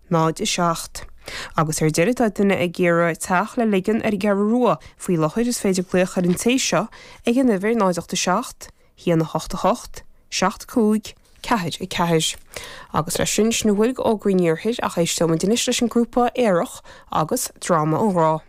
0, 7. Agus ar deireadh, tá duine ag iarraidh teach le ligean ar an gCeathrú Rua faoi láthair, is féidir glaoch ar an té seo ag an uimhir 0 8 7 1 8 8 7 5 4 4. Agus leis sin, sin a bhfuil d'fhógraí an iarthair ach éisteoimid anois leis an grúpa Aerach agus Dráma an Ghrá.